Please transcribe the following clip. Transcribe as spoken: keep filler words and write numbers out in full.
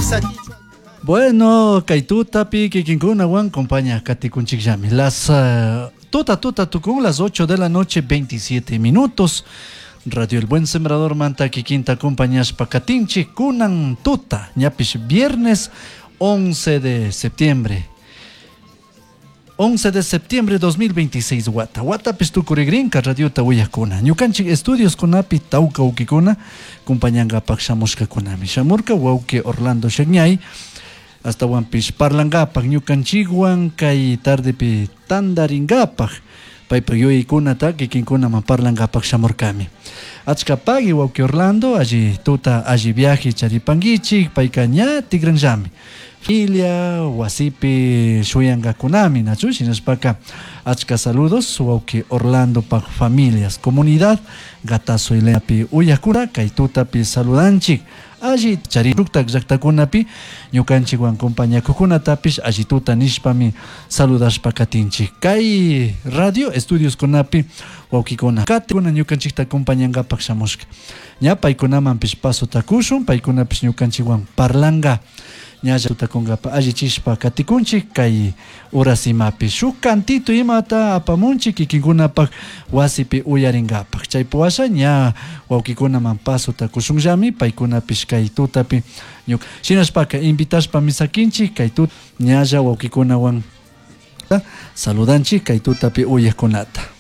Misa Bueno, kay tutapi kikinkunawan compañía katikunchikllami. Las uh, tuta tuta tukun las ocho de la noche veintisiete minutos. Radio El Buen Sembrador manta kikinta compañaspa katinchik kunan tuta ñapish viernes once de septiembre. once de septiembre dos mil veintiséis wata. Watapis tukurigrinka radiota willakuna. Ñukanchik estudios kunapi tawka wawkikuna compañangapak shamushkakunami. Shamurka wawki Orlando Shegñay. Hasta wampis parlangapak ñukanchikwan kay tardepi tandaringapak. Paypak yuyaykunata kikinkunaman parlangapak shamurkami. Achka pagui wawki Orlando, alli tuta alli viaje charipankichik, payka ña tigranllami. Familia, wasipi shuyangakunami, nachu, shinashpaka achka saludos wawki Orlando pak familias, comunidad Gatazo Ileapi uyakura, kay tutapi saludanchik. Alli chariruktak llaktakunapi ñukanchikwan compañakukunatapish alli tuta nishpami saludashpa katinchik. Kay radio estudios kunapi wawkikuna katikuna ñukanchikta acompañangapak shamushka. Ña paykunamanpish paso takushun, paykunapish ñukanchikwan parlanga. Ñalla tutakunkapa allichishpa katikunchik kay horas imapi shuk kantito imata apamunchik kikinkunapak wasipi uyarinkapak. Chay puwasha ña wawkikunaman paso takushunllami paykunapish kay tutapi ñuk shinashpaka invitashpa misakinchik kay tut ñalla wawkikunawan saludanchik kay tutapi uyaqkunata.